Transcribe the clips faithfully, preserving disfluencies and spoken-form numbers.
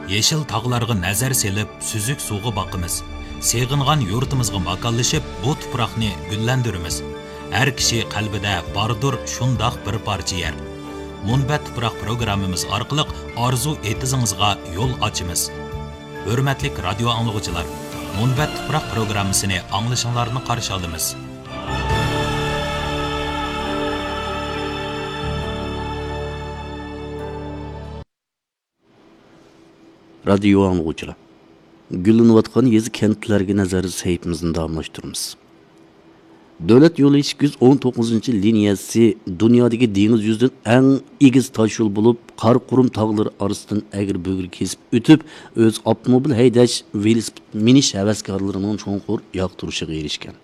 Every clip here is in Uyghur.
يېشىل تاغلارغا نەزەر سېلىپ، سۈزۈك سۇغا باقىمىز. سېغىنغان يۇرتىمىزغا ماكانلىشىپ، بۇ تۇپراقنى گۈللەندۈرىمىز. ھەر كىشى قەلبىدە باردۇر شۇنداق بىر پارچە يەر. مۇنبەت تۇپراق پروگراممىمىز ئارقىلىق ئارزۇ ئېتىزىڭىزغا يول ئاچىمىز. ھۆرمەتلىك رادىيو ئاڭلىغۇچىلار، مۇنبەت تۇپراق پروگراممىسىنى ئاڭلىشىڭلارنى قارشى ئالىمىز. رادىيو ئاڭلىغۇچىلار، گۈللىنىۋاتقان يېزا كەنتلەرگە نەزەر سەھىپىمىزنى داۋاملاشتۇرىمىز. دۆلەت يولى ئىككى يۈز ئون توققۇزىنچى لىنىيەسى دۇنيادىكى دېڭىز يۈزىدىن ئەڭ ئېگىز تاش يول بولۇپ، قارا قۇرۇم تاغلىرى ئارىسىدىن ئەگرى بۈگرى كېسىپ ئۆتۈپ، ئۆز ئاپتوموبىل ھەيدەش، ۋېلىسىپىت مىنىش ھەۋەسكارلىرىنىڭ چوڭقۇر ياقتۇرۇشىغا ئېرىشكەن.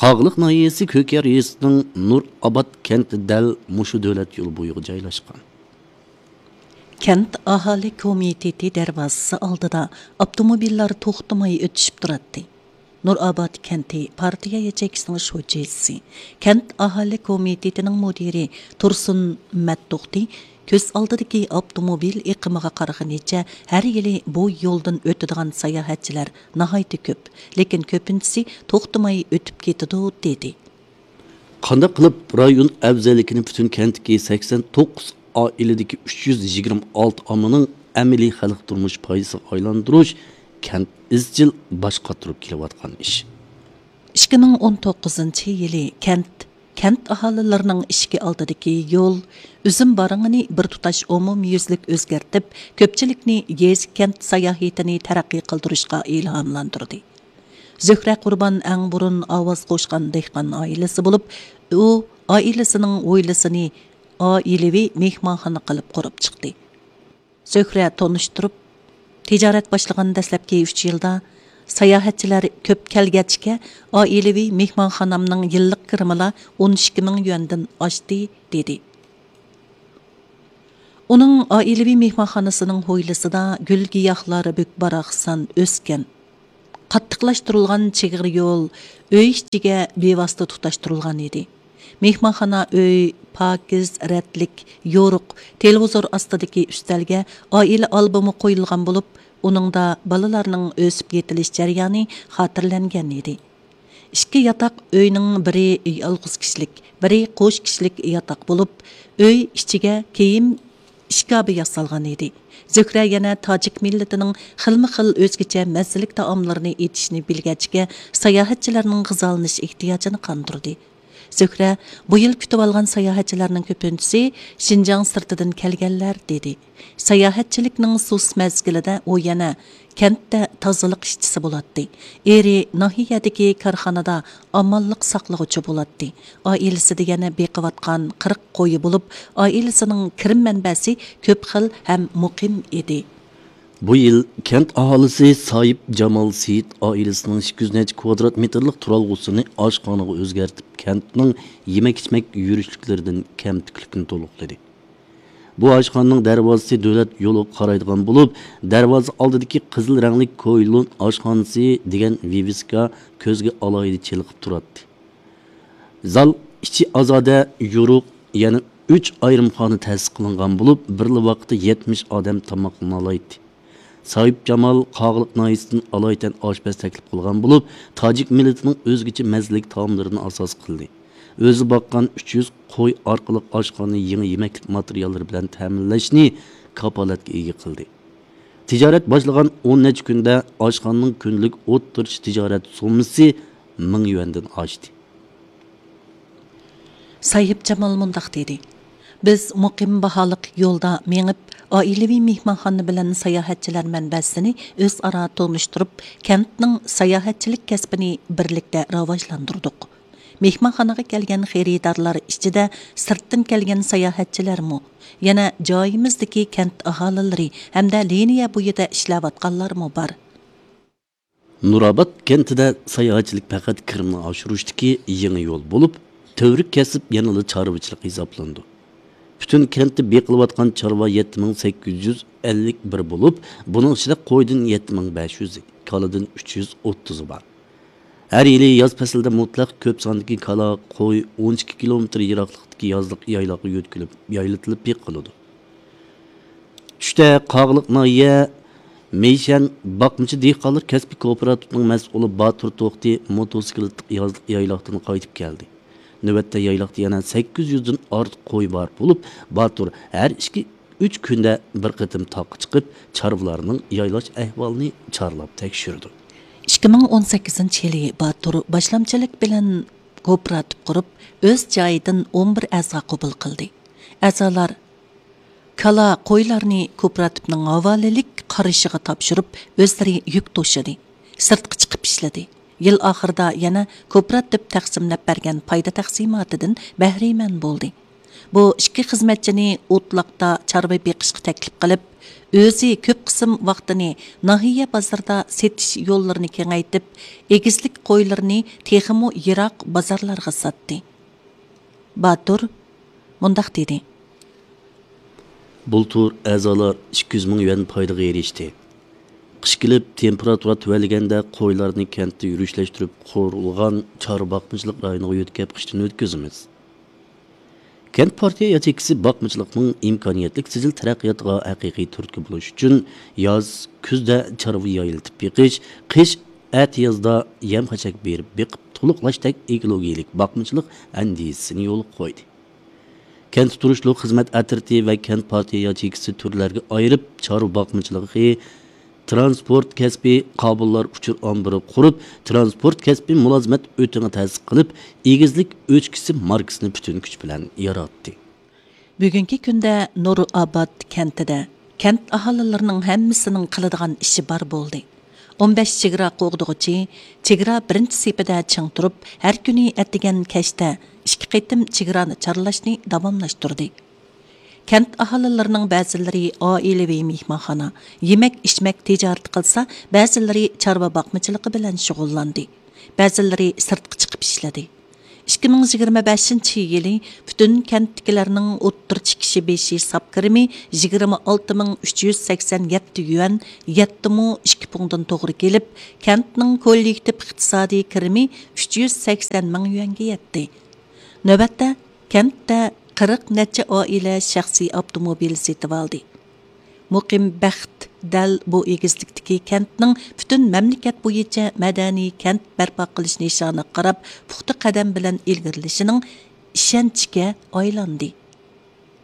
قاغىلىق ناھىيەسى كۆكيار يېزىسىنىڭ نۇرئاباد كەنتى دەل مۇشۇ دۆلەت يولى بويىغا جايلاشقان. كەنت ئاھالە كومىتېتى دەرۋازىسى ئالدىدا ئاپتوموبىللار توختىماي ئۆتۈشۈپ تۇراتتى. نۇرئاباد كەنتى پارتىيە ياچېيكىسىنىڭ شۇجىسى، كەنت ئاھالە كومىتېتىنىڭ مۇدىرى تۇرسۇن مەتتوختى كۆز ئالدىدىكى ئاپتوموبىل ئېقىمىغا قارىغىنىچە، ھەر يىلى بۇ يولدىن ئۆتىدىغان ساياھەتچىلەر ناھايىتى كۆپ، لېكىن كۆپىنچىسى توختىماي ئۆتۈپ كېتىدۇ، دېدى. قانداق قىلىپ رايون ئەۋزەللىكىنى پۈتۈن كەنتتىكى سەكسەن توققۇز ئائىلىدىكى ئۈچ يۈز يىگىرمە ئالتە ئاممىنىڭ ئەمەلىي خەلق تۇرمۇش پايدىسىغا ئايلاندۇرۇش كەنت ئىزچىل باش قاتۇرۇپ كېلىۋاتقان ئىش. ئىككى مىڭ ئون توققۇزىنچى يىلى كەنت، كەنت ئاھالىلىرىنىڭ ئىشىكى ئالدىدىكى يول، ئۈزۈم بارىڭىنى بىر تۇتاش ئومۇميۈزلۈك ئۆزگەرتىپ، كۆپچىلىكنى يېزا كەنت ساياھىتىنى تەرەققىي قىلدۇرۇشقا ئىلھاملاندۇردى. زۆھرە قۇربان ئەڭ بۇرۇن ئاۋاز قوشقان دېھقان ئائىلىسى بولۇپ، ئۇ ئائىلىسىنىڭ ھويلىسىنى ئائىلىۋى مېھمانخانا قىلىپ قۇرۇپ چىقتى. زۆھرە تونۇشتۇرۇپ، تىجارەت باشلىغان دەسلەپكى ئۈچ يىلدا ساياھەتچىلەر كۆپ كەلگەچكە، ئائىلىۋى مېھمانخانامنىڭ يىللىق كىرىمىلا ئون ئىككى مىڭ يۈەندىن ئاشتى، دېدى. ئۇنىڭ ئائىلىۋى مېھمانخانىسىنىڭ ھويلىسىدا گۈل-گىياھلار بۈك-باراقسان ئۆسكەن. قاتتىقلاشتۇرۇلغان چىغىر يول ئۆي ئىچىگە بىۋاسىتە تۇتاشتۇرۇلغان ئىدى. مېھمانخانا ئۆي پاكىز، رەتلىك، يورۇق، تېلېۋىزور ئاستىدىكى ئۈستەلگە ئائىلە ئالبومى قويۇلغان بولۇپ، ئۇنىڭدا بالىلارنىڭ ئۆسۈپ يېتىلىش جەريانى خاتىرىلەنگەن ئىدى. ئىككى ياتاق ئۆينىڭ بىرى يالغۇز كىشىلىك، بىرى قوش كىشىلىك ياتاق بولۇپ، ئۆي ئىچىگە كىيىم ئىشكابى ياسالغان ئىدى. زۆھرە يەنە تاجىك مىللىتىنىڭ خىلمۇ خىل ئۆزگىچە مەززىلىك تائاملىرىنى ئېتىشنى بىلگەچكە، ساياھەتچىلەرنىڭ غىزالىنىش ئېھتىياجىنى قاندۇردى. زۆھرە، بۇ يىل كۈتۈۋالغان ساياھەتچىلەرنىڭ كۆپىنچىسى شىنجاڭ سىرتىدىن كەلگەنلەر، دېدى. ساياھەتچىلىكنىڭ سۇس مەزگىلىدە ئۇ يەنە كەنتتە تازىلىق ئىشچىسى بولاتتى. ئېرى ناھىيەدىكى كارخانىدا ئامانلىق ساقلىغۇچى بولاتتى. ئائىلىسىدە يەنە بېقىۋاتقان قىرىق قويى بولۇپ، ئائىلىسىنىڭ كىرىم مەنبەسى كۆپ خىل ھەم مۇقىم ئىدى. بۇ يىل كەنت ئاھالىسى سايىپ جامال سېيىت ئائىلىسىنىڭ ئىككى يۈز نەچچە كۋادرات مېتىرلىق تۇرالغۇسىنى ئاشخانىغا ئۆزگەرتىپ، كەنتنىڭ يېمەك-ئىچمەك يۈرۈشلۈكلىرىدىن كەم-تۈكلۈكنى تولۇقلىدى. بۇ ئاشخانىنىڭ دەرۋازىسى دۆلەت يولىغا قارايدىغان بولۇپ، دەرۋازا ئالدىدىكى قىزىل رەڭلىك كويلۇن ئاشخانىسى دېگەن ۋىۋىسكا كۆزگە ئالاھىدە چېلىقىپ تۇراتتى. زال ئىچى ئازادە، يورۇق، يەنە ئۈچ ئايرىم خانا تەسىس قىلىنغان بولۇپ، بىرلا ۋاقىتتا يەتمىش ئادەم تاماقلىنالايتتى. سايىپ جامال قاغىلىق ناھىيەسىدىن ئالايىتەن ئاشپەز تەكلىپ قىلغان بولۇپ، تاجىك مىللىتىنىڭ ئۆزگىچە مەززىلىك تائاملىرىنى ئاساس قىلدى. ئۆزى باققان ئۈچ يۈز قوي ئارقىلىق ئاشخانىنى يېڭى يېمەكلىك ماتېرىياللىرى بىلەن تەمىنلەشنى كاپالەتكە ئىگە قىلدى. تىجارەت باشلىغان ئون نەچچە كۈندە ئاشخانىنىڭ كۈندىلىك ئوتتۇرىچە تىجارەت سوممىسى مىڭ يۈەندىن ئاشتى. ساھىب جامال مۇنداق دېدى: بىز مۇقىم باھالىق يولدا مېڭىپ، ئائىلىۋى مېھمانخانا بىلەن ساياھەتچىلەر مەنبەسىنى ئۆزئارا تونۇشتۇرۇپ، كەنتنىڭ ساياھەتچىلىك كەسپىنى بىرلىكتە راۋاجلاندۇردۇق. مېھمانخانىغا كەلگەن خېرىدارلار ئىچىدە سىرتتىن كەلگەن ساياھەتچىلەرمۇ، يەنە جايىمىزدىكى كەنت ئاھالىلىرى ھەمدە لىنىيە بويىدا ئىشلەۋاتقانلارمۇ بار. نۇراباد كەنتىدە ساياھەتچىلىك پەقەت كىرىمنى ئاشۇرۇشتىكى يېڭى يول بولۇپ، تۈۋرۈك كەسىپ يەنىلا چارۋىچىلىق ھېسابلىنىدۇ. پۈتۈن كەنتتە بېقىلىۋاتقان چارۋا يەتتە مىڭ سەككىز يۈز ئەللىك بىر بولۇپ، بۇنىڭ ئىچىدە قويدىن يەتتە مىڭ بەش يۈز، كالىدىن ئۈچ يۈز ئوتتۇزى بار. ھەر يىلى ياز پەسلىدە مۇتلەق كۆپ ساندىكى كالا، قوي ئون ئىككى كىلومېتىر يىراقلىقتىكى يازلىق يايلاققا يۆتكىلىپ، يايلىتىلىپ بېقىلىدۇ. چۈش تۈشتە قاغىلىق ناھىيە مەيشەن باقمىچى دېھقانلار كەسپىي كوپىراتىپىنىڭ مەسئۇلى باتۇر توختى موتوسىكلىتلىق يازلىق يايلاقتىن قايتىپ كەلدى. نۆۋەتتە يايلاقتا يەنە سەككىز يۈزدىن ئارتۇق قوي بار بولۇپ، باتۇر ھەر ئىككى، ئۈچ كۈندە بىر قېتىم تاغقا چىقىپ، چارۋىلارنىڭ يايلاش ئەھۋالىنى چارلاپ تەكشۈرىدۇ. ئىككى مىڭ ئون سەككىزىنچى يىلى باتۇر باشلامچىلىق بىلەن كوپىراتىپ قۇرۇپ، ئۆز جايىدىن ئون بىر ئەزا قوبۇل قىلدى. ئەزالار كالا، قويلارنى كوپىراتىپنىڭ ھاۋالىلىك قارىشىغا تاپشۇرۇپ، ئۆزلىرى يۈك توشىدى، سىرتقا چىقىپ ئىشلىدى. يىل ئاخىرىدا يەنە كوپىراتىپ تەقسىملەپ بەرگەن پايدا تەقسىماتىدىن بەھرىمەن بولدى. بۇ ئىككى خىزمەتچىنى ئوتلاقتا چارۋا بېقىشقا تەكلىپ قىلىپ، ئۆزى كۆپ قىسىم ۋاقتىنى ناھىيە بازىرىدا سېتىش يوللىرىنى كېڭەيتىپ، ئېگىزلىك قويلىرىنى تېخىمۇ يىراق بازارلارغا ساتتى. باتۇر مۇنداق دېدى. بۇلتۇر ئەزالار ئىككى يۈز مىڭ يۈەن پايدىغا ئېرىشتى. قىش كېلىپ، تېمپېراتۇرا تۆۋەنلىگەندە، قويلارنى كەنتتە يۈرۈشلەشتۈرۈپ قۇرۇلغان چارۋا باقمىچىلىق رايونىغا يۆتكەپ قىشتىن ئۆتكۈزىمىز. كەنت پارتىيە ياچېيكىسى باقمىچىلىقنىڭ ئىمكانىيەتلىك سىجىل تەرەققىياتىغا ھەقىقىي تۈرتكە بولۇش ئۈچۈن، ياز، كۈزدە چارۋا يايلىتىپ بېقىش، قىش، ئەتىيازدا يەم-خەشەك بېرىپ بېقىپ تولۇقلاشتەك ئېكولوگىيەلىك باقمىچىلىق ئەندىزىسىنى يولغا قويدى. كەنتتە تۇرۇشلۇق خىزمەت ئەترىتى ۋە كەنت پارتىيە ياچېيكىسى تۈرلەرگە ئايرىپ، چارۋا باقمىچىلىقى، تىرانسپورت كەسپى قابىللار ئۇچۇر ئامبىرى قۇرۇپ، تىرانسپورت كەسپى مۇلازىمەت ئۆتىڭى تەسىس قىلىپ، ئېگىزلىك ئۆچكىسى ماركىسىنى پۈتۈن كۈچ بىلەن ياراتتى. بۈگۈنكى كۈندە نۇرئاباد كەنتىدە كەنت ئاھالىلىرىنىڭ ھەممىسىنىڭ قىلىدىغان ئىشى بار بولدى. ئون بەش چېگرا قوغدىغۇچى چېگرا بىرىنچى سېپىدە چىڭ تۇرۇپ، ھەر كۈنى ئەتىگەن كەچتە ئىككى قېتىم چېگرانى چارلاشنى داۋاملاشتۇردى. كەنت ئاھالىلىرىنىڭ بەزىلىرى ئائىلىۋى مېھمانخانا، يېمەك-ئىچمەك تىجارىتى قىلسا، بەزىلىرى چارۋا باقمىچىلىقى بىلەن شۇغۇللاندى، بەزىلىرى سىرتقا چىقىپ ئىشلىدى. ئىككى مىڭ يىگىرمە بەشىنچى يىلى پۈتۈن كەنتتىكىلەرنىڭ ئوتتۇرىچە كىشى بېشى ساپ كىرىمى يىگىرمە ئالتە مىڭ ئۈچ يۈز سەكسەن يەتتە يۈەن، يەتتە مو ئىككى پۇڭدىن توغرا كېلىپ، كەنتنىڭ كوللېكتىپ ئىقتىسادىي كىرىمى ئۈچ يۈز سەكسەن مىڭ يۈەنگە يەتتى. نۆۋەتتە كەنتتە قىرىق نەچچە ئائىلە شەخسىي ئاپتوموبىل سېتىۋالدى. مۇقىم بەخت دەل بۇ ئېگىزلىكتىكى كەنتنىڭ پۈتۈن مەملىكەت بويىچە مەدەنىي كەنت بەرپا قىلىش نىشانىغا قاراپ پۇختا قەدەم بىلەن ئىلگىرىلىشىنىڭ ئىشەنچىگە ئايلاندى.